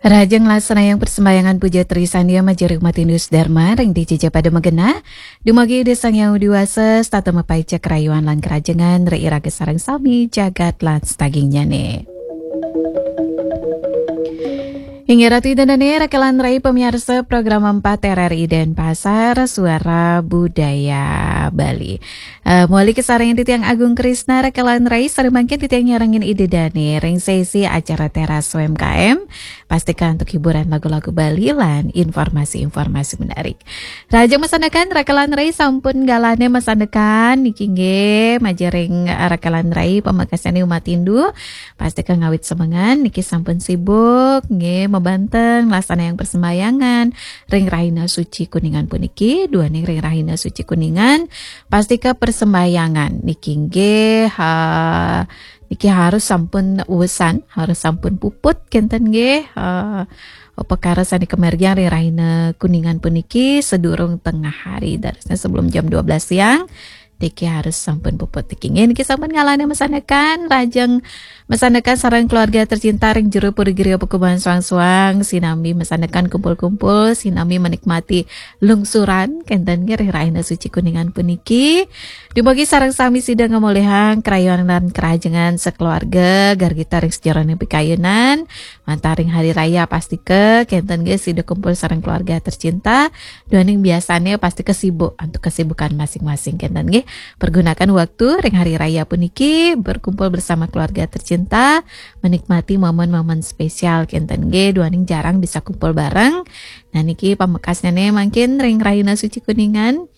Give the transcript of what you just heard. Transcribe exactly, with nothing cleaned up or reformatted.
Rahajeng nglaksanaang persembahyangan puja trisandia majeng umat Hindu Dharma ring dija pada magenah. Dumugi Ida Sang Hyang Widhi Wasa setata mapaica karayuan lan karahajengan ring iraga sareng sami jagat lan sadagingnyane. Inggih Ratu Ida Dane, Raka lan Rai pamiarsa program empat R R I Denpasar, Suara Budaya Bali. Eh, mawali kasarengin titiang Agung Krisna, Raka lan Rai, sareng mangkin titiang nyarengin Ida Dane ring sesi acara Teras U M K M. Pastika antuk hiburan lagu-lagu Bali lan informasi-informasi menarik. Rahajeng masandekan, Raka lan Rai sampun galahne masandekan niki nggih, majeng ring Raka lan Rai pamekasne umat Hindu. Pastika ngawit semengan niki sampun sibuk nggih, mabanteng nglaksanaang persembahyangan ring rahina suci Kuningan puniki, duaning ring rahina suci Kuningan. Pastika persembahyangan niki nggih, ha, niki harus sampun uesan, harus sampun puput kenten nggih, ha, upakara sane kamargiang ring rahina Kuningan puniki sedurung tengah hari, dados sebelum jam dua belas siang. Niki harus sampun puput niki nggih. Niki sampun galahne masandekan, rahajeng masandekan sareng keluarga tercinta ring jero Puri Giri Pakuban Suang-Suang, sinambi masandekan kumpul-kumpul, sinambi menikmati lungsuran kenten nggih ring rahina suci Kuningan puniki. Dumugi sareng sami sida ngamolihang karayuan lan karahajengan sakeluarga, gargita ring sajeroning pikayunan. Mantaring hari raya pastika kenten nggih sida kumpul sareng keluarga tercinta. Duaning biasane pastika sibuk antuk kesibukan masing-masing kenten nggih. Pergunakan waktu ring hari raya puniki berkumpul bersama keluarga tercinta, menikmati momen-momen spesial kenten nggih. Duaning jarang bisa kumpul bareng. Nah niki pamekasnyane mangkin ring rahina suci Kuningan.